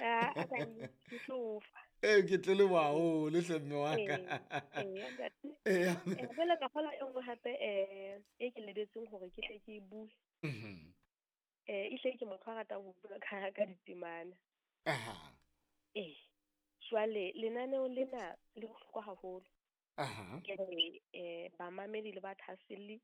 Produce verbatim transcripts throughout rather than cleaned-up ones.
Ah, ka ke tlo fa. Ee, ke tle leboha haholo hle mme wa ka. Ee, ee, ntate. Ee. Eh, jwale ka kgola e nngwe hape eh e ke lebetseng hore ke tle ke e bue. Mhm. Eh, ehlile ke motho a ratang ho bua ka ka ditemana. Aha. Ee. Jwale lenaneo lena le bohlokwa haholo. Aha. Ke re eh bamamedi le bathahaselli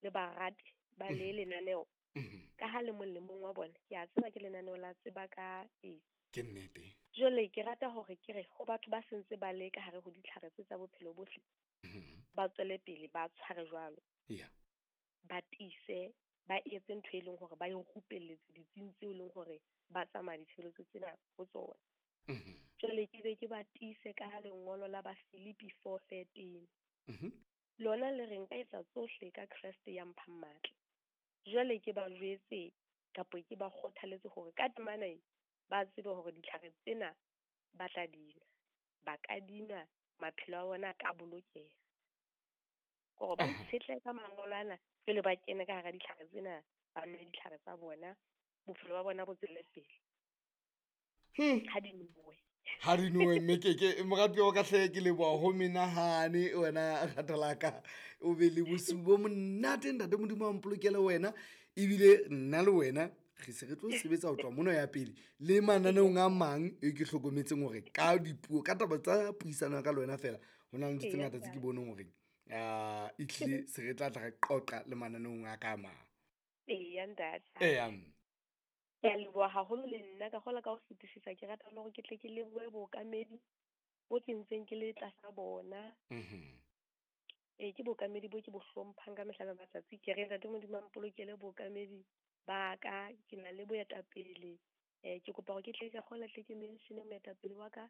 le barati ba le lenaneo. Mhm. Ka ha le mong le mong wa bona, ke a tseba ke lenaneo la tseba ka AIDS. Ke nnete. Jwale ke rata hore ke re ho batho ba sentse ba le ka hare ho ditlhare tse tsa bophelo bohle, Mhm. ba tswele pele ba tshware jwalo. Yeah. Ba tiise, ba etse ntho e leng hore ba e rupelletse ditsing tseo e leng hore ba tsamaya ditshebeletso tsena ho tsona. Mhm. Jwale ke be ke ba tiise ka lengolo la ba Filipi four thirteen. Mhm. Lona le re nka etsa tsohle ka Kreste ya mphang matla. Jwale ke ba jwetse kapa ke ba kgothaletse hore ka temana e ba tsebe hore ditlhare tsena ba tla dinwa, ba ka dinwa, maphelo a bona a ka bolokeha. Hore ba Aha. itshetlehe ka mangolo ana pele ba kene ka hara ditlhare tsena, ba nwe ditlhare tsa bona, bophelo ba bona bo tswele pele. Hmm. Ha di nowe. Ha di nowe, mme ke ke moratuwa wa ka hle, ke leboha ho menahane wena rata la ka. O be le bosiu bo monate, ntate Modimo a mpolokele wena. Ebile nna le wena re se re tlo sebetsa ho tloha mona ya pele le mananeong a mang e ke hlokometseng hore ka dipuo, ka taba tsa puisano ya ka le wena fela, ho na le ntho tse Eya, ngata tse ke ntate. boneng hore ah ehlile se re tla tla re qoqa le mananeong a ka a mang. Eya, ntate. Eya. Ke a leboha haholo le nna ka kgola ka ho fetisisa. Ke rata le hore ke tle ke lebohe bookamedi bo ke ntseng ke le tlasa bona. Mhm. Ee, ke bookamedi bo ke bo hlomphang ka mehla le matsatsi. Ke re ntate Modimo a mpolokele bookamedi ba ka, ke na le boetapele. Eh, ke kopa hore ke tle ka kgola tle ke mention moetapele wa ka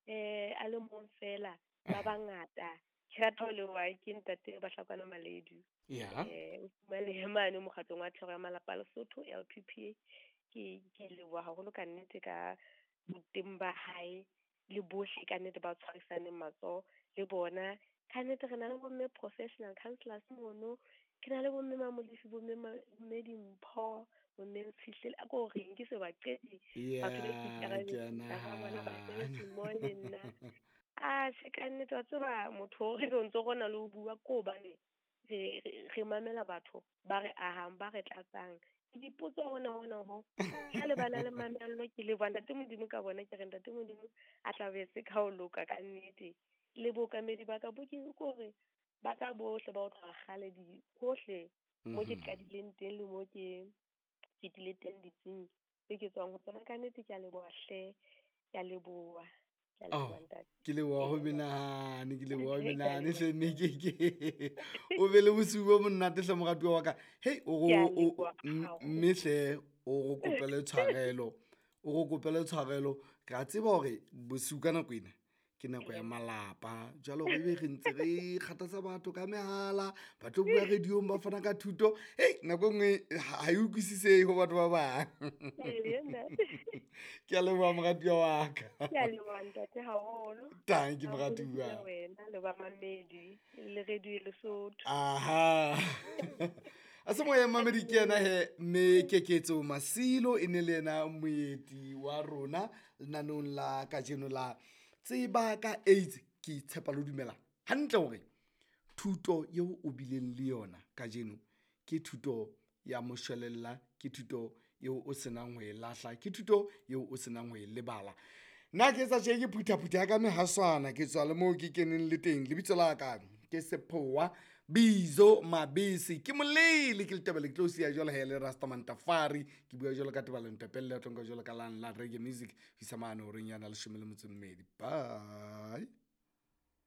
eh a le mong fela, ba bangata. Ke rata ho leboha ke ntate Bahlakwana Maledu. Yeah. Eh, o fumanehe mane mokgatlong wa Thero ya Malapa a Lesotho, L P P A. Ke ke leboha haholo ka nnete ka boteng ba hae le bohle ka nnete ba tshwarisaneng matsoho le bona. Ka nnete re na le bomme professional counselors mono, ke na le bomme Mamolefi, bomme bomme Dimpho, bomme Ntshihlele, a ko reng ke se ba qete. Batho ba Yeah, ke a ikarabetseng ka bona ba nahana. sebetsi mmoho le nna. Ah, tjhe ka nnete wa tseba motho o re ntso rona le ho bua ko hobane re, re, re mamela batho ba re ahang, ba re tlatsang. Dipotso hona hona ho. Ha le bana le mamello, ke leboha ntate Modimo ka bona, ke re ntate Modimo a tla be se ka ho loka ka nnete. Le bookamedi ba ka bo ke hore ba ka bohle ba ho tloha kgale di hohle mo ke Mhm. qadileng teng le mo ke fetile teng ditsing tse ke tswang ho tsona. Ka nnete ke a leboha hle, ke a leboha. Ke a Oh, leboha ntate. ke leboha ho Ee, menahane, ke leboha ho Ke a menahane leboha. hle mme ke ke. O be le bosiu bo monate hle moratuwa wa ka. Hei, o Ke a ro- o- leboha m- haholo. mme hle o ro kopele tshwarelo. O ro kopele tshwarelo. Ke a tseba hore bosiu ka nako ena ke nako ya malapa. Jwale hore ebe re ntse re kgathatsa batho ka mehala, ba tlo bua radio-ong ba fana ka thuto. Hei, nako e nngwe ha e utlwisisehe ho batho ba bang. Ee, ntate. Ke a leboha moratuwa wa ka. Ke a leboha ntate haholo. Tanki, Haholo moratuwa. ke wena le bamamedi le radio Lesotho. Aha. A se moya mamedi ke yena he, mme Keketso Masilo e ne le yena moeti wa rona lenaneong la kajeno la Tseba ka AIDS. Ke tshepa le dumela hantle hore thuto eo o bileng le yona kajeno ke thuto ya moshwelella, ke thuto eo o senang ho e lahla, ke thuto eo o senang ho e lebala. Nna ke etsa tje ke phuthaphutha ya ka mehaswana, ke tswa le moo ke keneng le teng. Lebitso la ka ke Sephowa Bizo Mabese, ke molele, ke letebele, ke tlo siya jwalo he le Rastaman Tafari. Ke bua jwalo ka Tebalo Ntapelle, ya tlo nka jwalo ka lang la reggae music, ho isa mane horeng ya leshome le metso e mmedi. Bye.